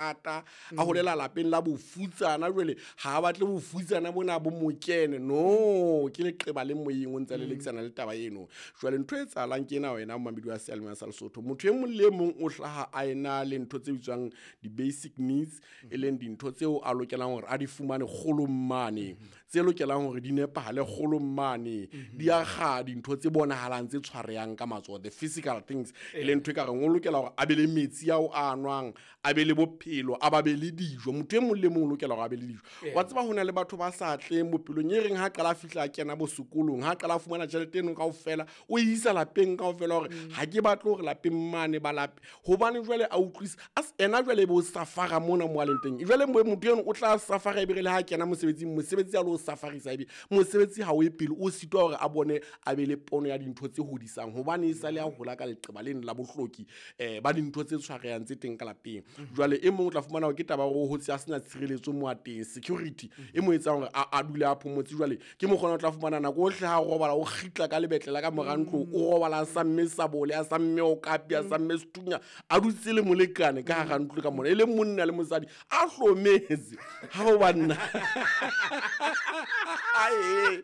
Ata a holela lapeng la bofutsana, jwale ha a batle bofutsana bona bo mo kene. No, ke leqeba le moyeng o ntse le lekisana le taba eno. Jwale ntho e etsahalang ke ena, wena momamedi wa seyalemoya sa Lesotho, motho e mong le e mong o hlaha a ena le ntho tse bitswang di-basic needs, e leng dintho tseo a lokelang hore a di fumane kgolong mane, tse lokelang hore di nepahale kgolong mane, di akga dintho tse bonahalang, tse tshwarehang ka matsoho, the physical things, e leng ntho e ka reng o lokela hore a be le metsi ao a nwang, a be le bophelo, a ba be le dijo. Motho e mong le mong o lokela hore a be le dijo. Wa tseba, ho na le batho ba sa tleng bophelong, e reng ha qala a fihla a kena bo sekolong, ha qala a fumana tjhelete eno kaofela, o e isa lapeng kaofela, hore ha ke batle hore lapeng mane ba lape, hobane jwale a utlwisa ena jwale e be o safara mona mo a leng teng. Jwale motho eno o tla safara, ebe re le ha kena mosebetsing, mosebetsi a lo safarisa, ebe mosebetsi ha o ye pele, o sitwa hore a bone, a be le pono ya dintho tse hodisang, hobane e sale a hola ka leqeba leno la bohloki ba dintho tse tshwarehang tse teng ka lapeng. Jwale e mong o tla fumana hore ke taba hore o hotse a sena tshireletso mo a teng, security e mo etsang hore a dule a phomotse. Jwale ke mokgona o tla fumana nako ohle ha robala, o kgitla ka lebetlela ka mora ntlo, o robala a samme sabole, a samme okapi, a samme sethunya, a dutse le molekane ka hara ntlo ka mona, e le monna le mosadi a hlometse ha o banna. Ae,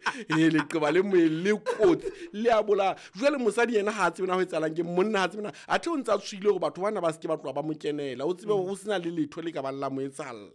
leqeba le moeng le kotsi, le a bolaya. Jwale mosadi yena ha a tsebe na ho etsahalang, ke monna ha tsebe na, athe o ntse a tshohile hore batho bana ba se ke ba tloha ba mo kenela, o tsebe hore o sena le letho le ka bang la mo etsahalla.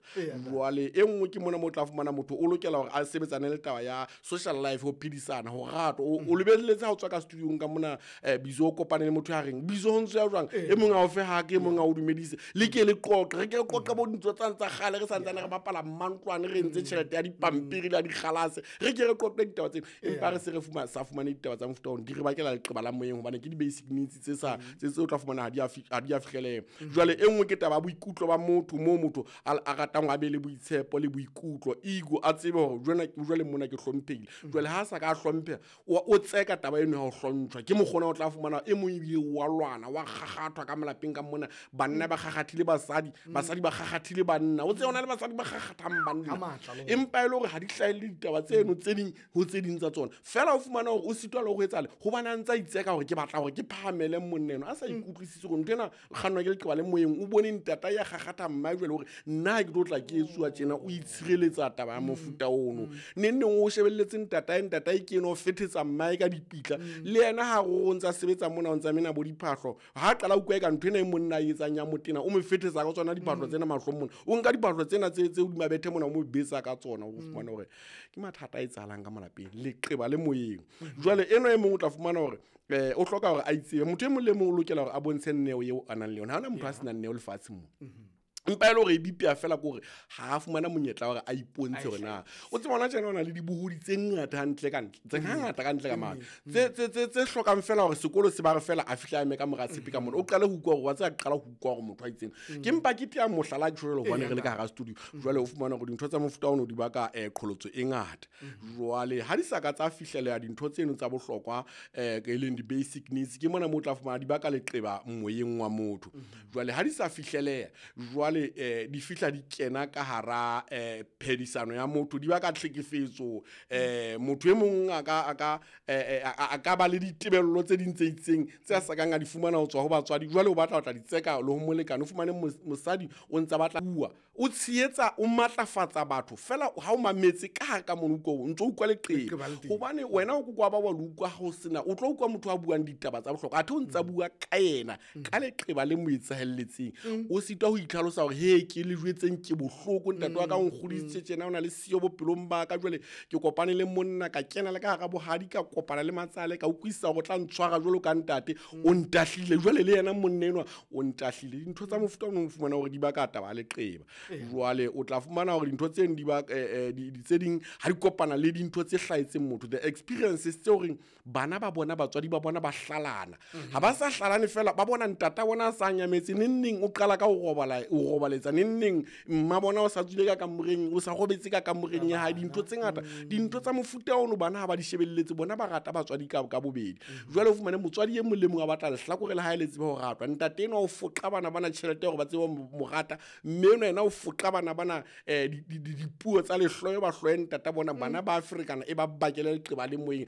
Jwale e nngwe ke mona mo o tla fumana motho o lokela hore a sebetsane le taba ya social life, ho phedisana, ho ratwa. O lebelletse ha o tswa ka studiong ka mona, Bizo, o kopane le motho ya reng Bizo ho ntse ya jwang, e mong a o fe hake, e mong a o dumedise, le ke le qoqe, re ke re qoqe bo dintho tsane tsa kgale re santsane re bapala mmantlwane, re entse tjhelete ya dipampiri le ya dikgalase, re ke re qoqe ditaba tseno. Empa re se re sa fumane ditaba tsa mofuta ono, di re bakela leqeba la moyeng, hobane ke di-basic needs tse sa tse o tla fumana ha di a fihleleha. Jwale e nngwe ke taba ya boikutlo ba motho, moo motho a ratang a be le boitshepo le boikutlo, ego, a tsebe hore jwale mona ke hlomphehile. Jwale ha a sa ka a hlompheha, o tseka taba eno ya ho hlontshwa, ke mokgona o tla fumana e mong ebile wa lwana, wa kgakgathwa ka malapeng ka mona, banna ba kgakgathile basadi, basadi ba kgakgathile banna, o tsebe hona le basadi ba kgakgathang banna, empa e le hore ha di hlahelle ditaba tseno tse ding ho tse ding tsa tsona. Fela o fumana hore o sitwa le ho etsale, hobane a ntse a itseka hore ke batla hore ke phahamele monna eno, a sa ikutlwisise hore ntho ena kgannwa ke leqeba le moyeng. O bone ntata ya kgakgatha mma, jwale hore nna ha ke tlo tla ke etsuwa tjena, o itshireletsa taba ya mofuta ono. Neng neng o shebelletse ntatae, ntatae ke eno o fethetsa mmae ka dipitla, le yena ha o ntsa sebetsa mona, o ntsa mena bo diphahlo, ha qala utlwa eka ntho ena e monna a etsang ya motena, o mo fethetsa ka tsona diphahlo tsena mahlong mona, o nka diphahlo tsena tse hodima bethe mona, o mo betsa ka tsona. O fumana hore ke mathata a etsahalang ka malapeng, leqeba le moyeng. Jwale eno e mong o tla fumana hore o hloka hore a itsebe. Motho e mong le mong o lokela hore a bontshe neo eo a nang le yona. Ha hona motho a senang neo lefatsheng mo, empa e le hore e bipea fela ke hore ha a fumana monyetla hore a ipontshe hore na o tseba hona tjena o na le dibohodi tse ngata hantle ka ntle, tse ngata ka ntle ka mane, tse hlokang fela hore sekolo se ba re fela a fihla a eme ka mora tshepe ka mona, o qale ho utlwa hore wa tseba, qala ho utlwa hore motho a itseng. Ke mpa ke tea mohlala ke jwale hobane re le ka hara studio. Jwale o fumana hore dintho tsa mofuta ono di baka qholotso e ngata. Jwale ha di sa ka tsa fihleleha dintho tseno tsa bohlokwa, e leng di-basic needs, ke mona mo o tla fumana di baka leqeba moyeng wa motho. Jwale ha di sa fihleleha, jwale di fihla di kena ka hara phedisano ya motho, di baka tlhekefetso. Motho e mong a ka ba le ditebello tse ding tse itseng tse a sa kang a di fumana ho tswa ho batswadi, jwale o batla ho tla di tseka le ho molekane. O fumane mosadi o ntsa batla bua, o tshehetsa, o matlafatsa batho fela, ha o mametse ka hare ka mono, utlwa o ntso utlwa leqeba, hobane wena o kokwa ba wa le utlwa ha o sena, o tlo utlwa motho a buang ditaba tsa bohlokwa, athe o ntsa bua ka yena ka leqeba le mo etsahelletseng. O sitwa ho itlhalosa hore he ke le jwetseng ke bohloko, ntate wa ka o nkgodisitse tjena, o na le siyo bophelong ba ka, jwale ke kopane le monna, ka kena le ka hara bohadi, ka kopana le matsale, ka utlwisisa hore o tla ntshwara jwalo ka ntate, o ntahlile, jwale le yena monna enwa o ntahlile. Dintho tsa mofuta ono o fumana hore di baka taba ya leqeba. Jwale o tla fumana hore dintho tseno di ba tse ding ha di kopana le dintho tse hlahetseng motho, the experiences tse horeng bana ba bona batswadi ba bona ba hlalana, ha ba sa hlalane fela, ba bona ntata bona a sa nyametse neng neng, o qala ka ho robala, o robaletsa neng neng, mma bona o sa tswile ka kamoreng, o sa robetse ka kamoreng ya hae, dintho tse ngata, dintho tsa mofuta ono bana ha ba di shebelletse, bona ba rata batswadi ka bobedi. Jwale o fumane motswadi e mong le mong a batla lehlakore le hae le tsebe ho ratwa. Ntate enwa o foqa bana bana tjhelete hore ba tsebe ho mo rata, mme enwa yena o foqa bana bana dipuo tsa lehloyo, ba hloye ntata bona. Bana ba ferekana, e ba bakele leqeba le moyeng.